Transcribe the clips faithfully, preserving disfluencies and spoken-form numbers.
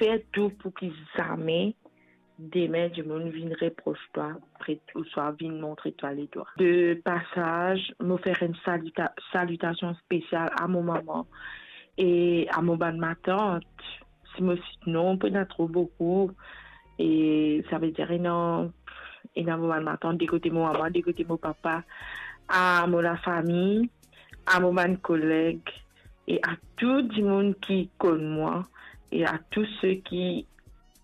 fer tou pou ki zame demin dimoun vinn repros twa, pre-, ouswa vinn montre twa ledwa. De pasaz, mo fer enn salita-, salitasion spesial a mo mama e a mo bann matant. Si mo sit non, pena tro boukou. E savedir ena, ena mo bann matant de kote mo mama, de kote mo papa, a mo lafami, a mo bann koleg e a tou dimoun ki konn mwa e a tou seki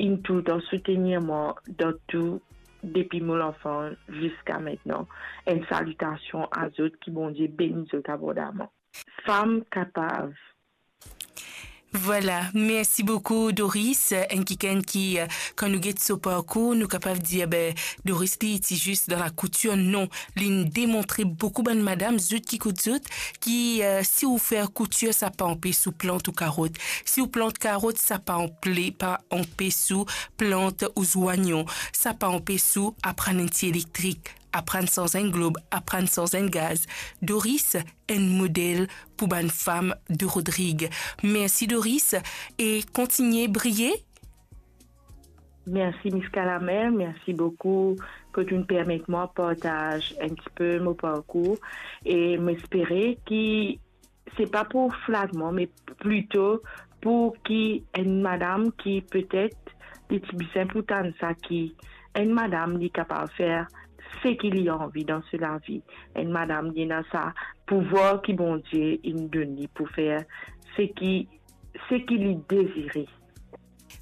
inn toultan soutenir mwa dan tou, depi mo lanfans ziska aster. Enn salitasion a zot, ki Bondie beni zot abondaman. Fam kapav. Vwala, mersi boukou Doris. Enn kikenn ki, eh, kan nou get so parkour, nou kapav dir, be, Doris li ti zis dan lakoutir, non. Linn demontre boukou bann madam, zot ki ekout zot, ki, eh, si ou fer koutir, sa pa anpes ou plant ou karot. Si ou plant karot, sa pa anple-, pa anpes ou plant ou zwanyon. Sa pa anpes ou aprann enn ti elektrik, aprann sanz enn glob, aprann sanz enn gaz. Doris, enn model pou bann fam de Rodrig. Mersi Doris, e kontigne briye. Mersi Miss Kalamel, mersi boukou kot ou'nn permet mwa partaz enn tipe mo parkour, e mo espere ki se pa pou flat mwa, me plito pou ki enn madam ki petet li ti bizin pou tann sa, ki enn madam li kapav fer seki li anvi dan so lavi. Enn madam li ena sa pouvwar ki Bondie inn donn li pou fer seki, seki li dezire.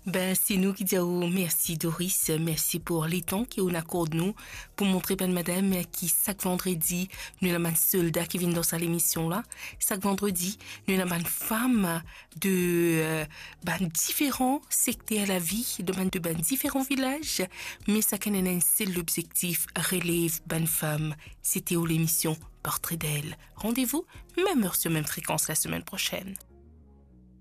Ben, se nou ki dir ou mersi, Doris. Mersi pou letan ki ou'nn akord nou pou montre bann madam ki sak vandredi, nou ena bann solda ki vinn dan sa lemision la. Sak vandredi, nou ena bann fam de, eh, bann diferan sekter lavi, de bann, de bann diferan vilaz, me sakenn ena enn sel lobzektif, relev bann fam. Sete ou lemision Portrait d'elle. Randevou, mem er, sir mem frekans, lasemenn prosenn.